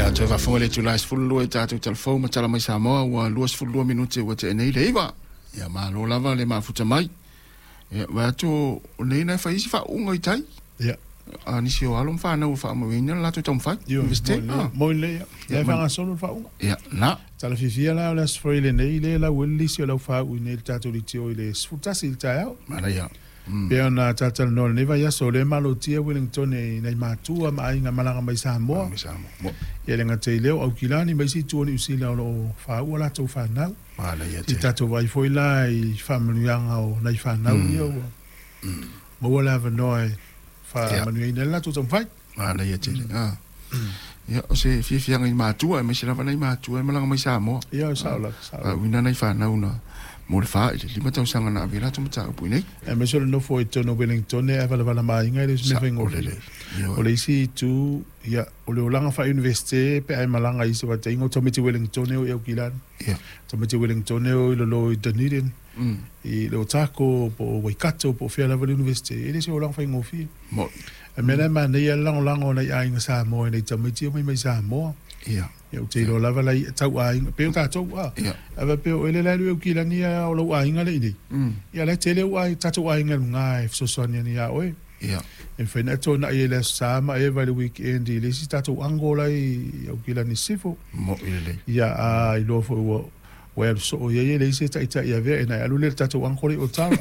Ia, toe faafofoga i le itula e 12 i tatou talafou ma tala mai Samoa ua 22 minute ua tea nei le 9. Ia, malo lava le mafuta mai. Ia, vaai atu o nei na e fai isi faauuga i tai. Ia. A nisi o alo ma fanau ua faamauina le latou taumafai. Ioe, Universite. mo le, mo le, ia. Ia, E faagasolo le faauuga. Ia, na. Tala fiafia la o le Aso Faraile nei, lea e lau ai le lisi o le au faauu i nei i le tatou leitio i le 11 i le taeao. Manaia. Pei ona talatalanoa i lenei vaiaso, o lea e malotia Wellington i nai matua ma aiga malaga mai Samoa. Mai Samoa. Mo. Ia le gata i lea o Aukilani ma isi itu o Niu Sila o lo o faauu a latou fanau. Manaia I tele. tatou vaai foi la i faamanuiaga o nai fanau ia ua maua le avanoa e faamanuiaina ai le latou taumafai. Manaia tele. Ah. Ia, o se fiafiaga i matua, aemaise lava nai matua e malaga mai Samoa. Ia, sao lava, sao lava. Faauuina nai fanau na mo le 4 i le 5 tausaga na ave i latou mataupu i nei. Aemaise o le nofo i totonu o Wellington e valavala ma aiga e le o se mea Sao faigofie. lelei. Ioe. O le isi itu, ia, o le olaga faa-universite pe a e malaga i isi vaitaimi, o tamaiti Wellington e o i Aukilani. Tamaiti Wellington e o i lalo i Dunedin, i le Otago, po o Waikato, po o fea lava le universite. E le se olaga faigofie. Mo. E mea la e manaia le lagolago o nai aiga Samoa i nai tamaiti e omai mai Samoa. Ia, ou te iloa lava lai tau aiga, pei o tatou a. Ae faapea o ele la e alu i Aukilani a o lou aiga le i nei. Ia la e tele ou aiga, tatou aiga i luga e fesoasoani ane ia oe. E mafai ona e tona'i ai i le Aso Sa ma Eva i le weekend i le isi tatou uncle la i Aukilani i Sisifo. Mo i lelei. Ia, a iloa foi ua ua e alu soo i ai e leai se taitai avea e na e alu lea i le tatou uncle i Otara.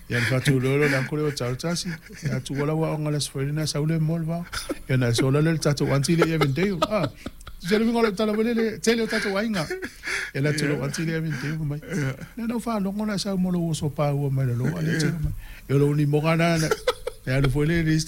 Ia na faatu loa le uncle i Otara tasi. Ia tuua lau aoga i le Aso Faraile na sau le mo le vao. Ia na sola lea i le tatou auntie le i Avondale. Ah, se le uiga o lau tala foi lele, tele o tatou aiga. Ia la tu lou auntie le i Avondale fai mai. Na na faalogo na sau mo lou oso paua mai lalo a le tele mai. Ia o lou limoga na na e alu foi le i le isi.